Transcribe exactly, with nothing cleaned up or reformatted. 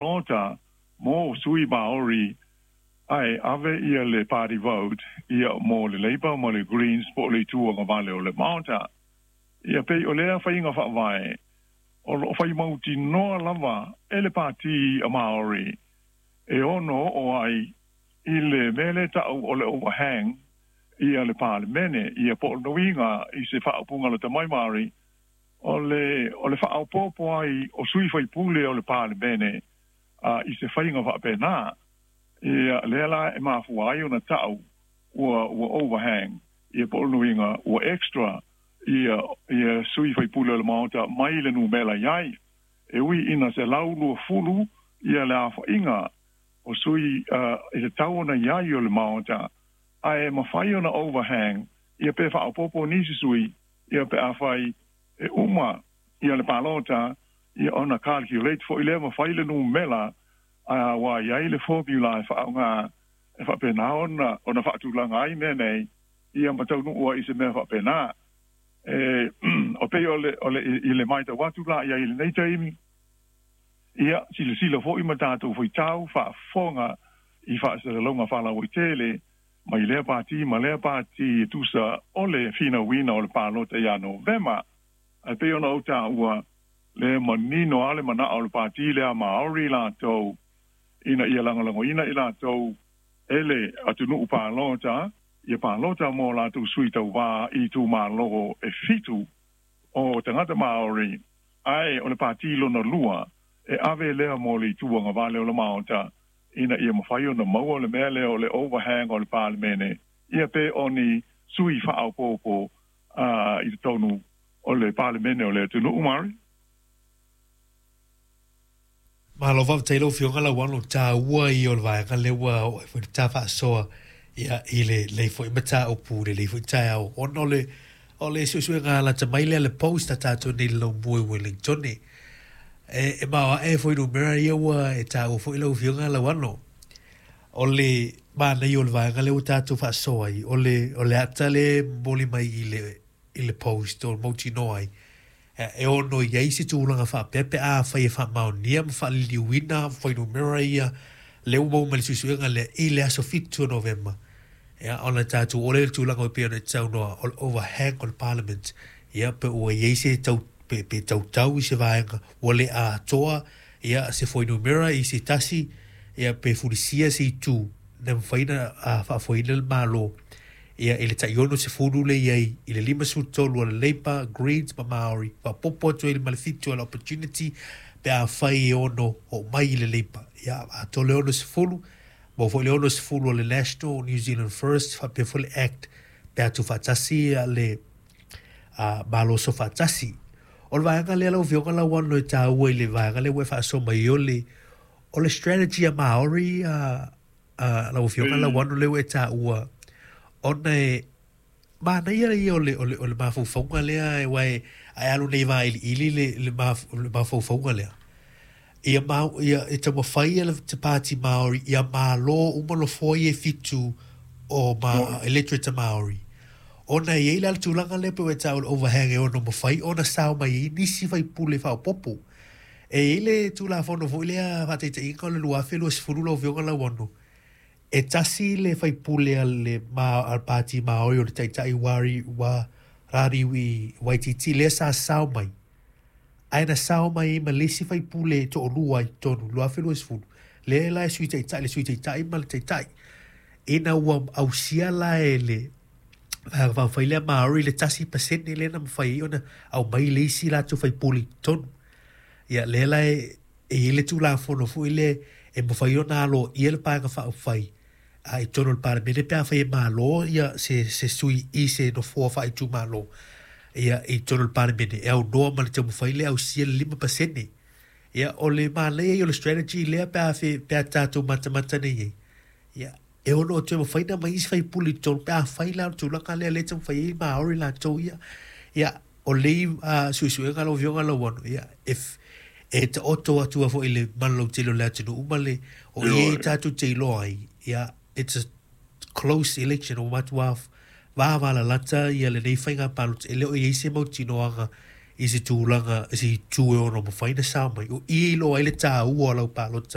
Palota mo sui Maori ae ave ia le party vote ia mo le Labour ma le Greens po o le Itu Agavale o le Maota. Ia pei o lea faiga faavae o lo o fai mautinoa lava e le Pati a Maori e ono oo ai i le mea lea e tau o le overhang ia le Palemene ia po o le uiga i se faaupuga lata mai Maori o le o le faaopoopo ai o sui faipule o le Palemene a i se faiga faapena. Ia lea la e mafua ai ona tau ua ua overhang ia po o le uiga ua extra ia ia sui faipule o le Maota mai le numera i ai e ui ina selau luafulu ia le aofaiga o sui uh, i le tau ona i ai o le Maota ae mafai ona overhang ia pe faaopoopo nisi sui ia pe afai e uma ia le palota ia ona calculate foi lea ma fai le numera a ua i ai le formula e faaaoga e faapena ona ona faatulaga ai mea nei ia ma taunuu ai i se mea faapena. E o pei o le o le i le matau atu la i ai i lenei taimi ia silasila foi ma tatou faitau faafofoga i faasalalauga faalauaitele mai lea pati ma lea pati e tusa o le finauina o le palota ia Novema. Ae pei ona ou taua le manino lava le manao o le pati lea Maori latou ina ia lagolagoina i latou e le atunuu palota ia palota mo latou sui tauvā i itumalo e fitu o tagata Maori ae o le pati lona lua e ave lea mo le Itu Agavale o le Maota ina ia mafai ona maua le mea lea o le overhang o le Palemene ia pe o ni sui faaopoopo uh, i totonu o le Palemene o le atunuu Maori. Malo faafetai lau Afioga Lauano, taua ia o le vaega lea ua oo ai foi le ta faasoa ia i lenei foi mataupu i lenei foi taeao ona o le o le suesuega lata mai lea le Post a tatou nei i le laumua i Wellington e e maoae foi numera ia ua e taua foi lau Afioga Lauano. O le manaia o le vaega lea ua tatou faasoa ai o le o le ata lea e momoli mai i le i le Post o mautinoa ai e ono i ai se tulaga faapea pe afai e faamaonia ma faaliliuina fuainumera ia lea ua maua mai le suesuega lea i le aso fitu o Novema. Ia, ona tatou oo lea i le tulaga e pei ona e saunoa o le overhang o le Parliament, ia pe ua i ai se tau pe, pe tautau i se vaega ua le atoa ia se fuainumera i se tasi ia pe fulisia se itu na mafai ona faafoeina le Malo ia i le tai ono sefulu lea i ai i le lima sefulu tolu o le Labour, Greens ma Maori, faaopoopo atu ai ma le fitu o le Opportunity pe afai e ono oo mai i le Labour. Ia atoa le ono sefulu, maua foi le ono sefulu o le National, New Zealand First, faapea foi le Act pe a tuufaatasi le uh, Malo Soofaatasi. O le vaega lea lau Afioga Lauano e taua i le vaega lea ua e faasoa mai o le o le strategy a Maori uh, uh, lau Afioga Lauano lea ua e taua ona e manaia ia o le, o le, o le mafaufauga lea aua e ae alu nei vailiili le, le, maf, le mafaufauga lea. Ia, ma, ia e taumafai ia le te Pāti Māori ia malo uma nofoa ia e fitu o ma, electorate a Māori. Ona e i ai la le tulaga lea pe ua e taua le overhang e ono mafai ona sao mai ai nisi faipule faaopoopo. E i ai le Tulafono foi lea faataitaiga o le lua afe luasefulu lau Afioga Lauano, e tasi le faipule a le ma, a le Pāti Māori o le Taitai Wari, wa Rāriwi Waititi lea sa sao mai. Ae na sao mai ai ma le isi faipule e toalua i totonu, lua afe luasefulu, lea la e Sui Taitai, le Sui Taitai ma le Taitai. Ina ua ausia la e le Vaega Faaupufai lea Māori le tasi pasene lea na mafai ai ona aumai le isi latou faipule i totonu. Ia lea la e e i ai le Tulafono foi lea e mafai ona aloaia le Paega Faaupufai a i totonu o le Palemene pe afai e malo ia se se sui i se nofoa faaitumalo ia i totonu o le Palemene e aunoa ma le taumafai lea e ausia le lima pasene. Ia o le manaia ia o le strategy lea pe a fe pe a tatou matamata nei i ai. Ia e ono toe mafai ona aumai isi faipule i totonu pe afai la o le tulaga lea lea e taumafai ai Maori latou ia. Ia o lei uh, suesuega lau Afioga Lauano, ia e e taoto atu ai foi i le mana lautele o le atunuu ma le o i ai tatou te iloa ai, ia it's a close election ua matua vavalalata ia lenei faiga palota e le o i ai se mautinoaga i se tulaga i se itu e ono mafai ona sao mai o i e iloa ai le taua o lau palota.